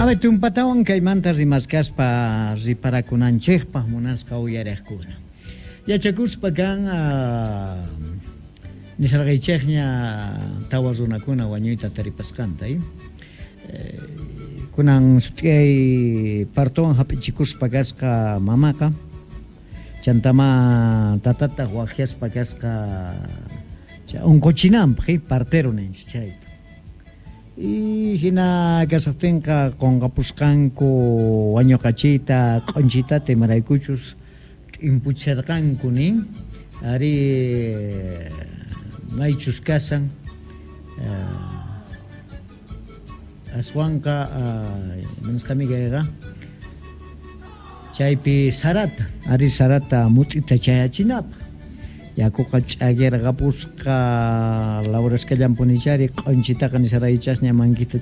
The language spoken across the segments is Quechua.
A ver, tumpatawan kaymanta rimaskaspa riparakunanchikpaq munasqa uyariqkuna. Yachakuspa kan nisharqaychikña tawa runakuna wañuyta taripasqanta. Kunan sut'iyay partowan hap'ichikuspa kasqa mamaqa, chantama tatataq waqyaspa kasqa unquchinanpaq, partero ninchik chayta. Y hina kasaqtinqa qunqapusqanku wañuqachiyta q'unchitata imaraykuchus t'impucharqanku nin ari maychus kasan aswanqa imanasqami kayqa chaypi sarata ari sarata mut'ita chayachinapaq yakuqa ch'akirqapusqa lawraskallanpunichari q'unchitaqa nisharaychasña mankita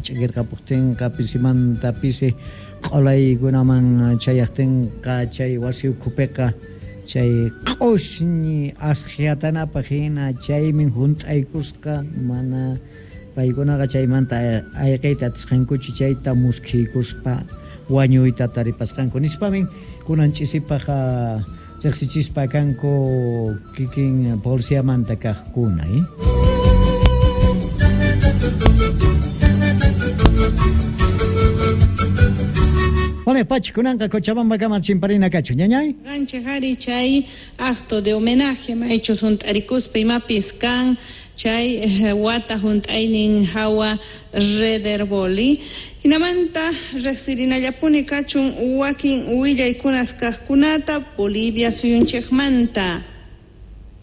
ch'akirqapuqtinqa pisimanta pisi q'ulaykunaman chayaqtinqa chay wasi ukhupiqa chay q'ushñi asqhatanapaq hina chaymin hunt'aykusqa mana paykunaqa chaymanta ayqiyta atisqankuchu chayta muskhiykuspa wañuyta taripasqanku nispamin kunan ch'isipaq riqsichispa kanku kikin policiamanta kaqkuna. Bueno, Pachi, kunanqa Cochabamba kama chimparina kachu, ñañay? Ganchik ari chay acto de homenaje maychus hunt'arikuspa imapis kan chay wata hunt'aynin hawa Rederboli. Hinamanta riqsirinallapuni kachun wakin willaykunas kaqkunata Bolivia suyunchikmanta.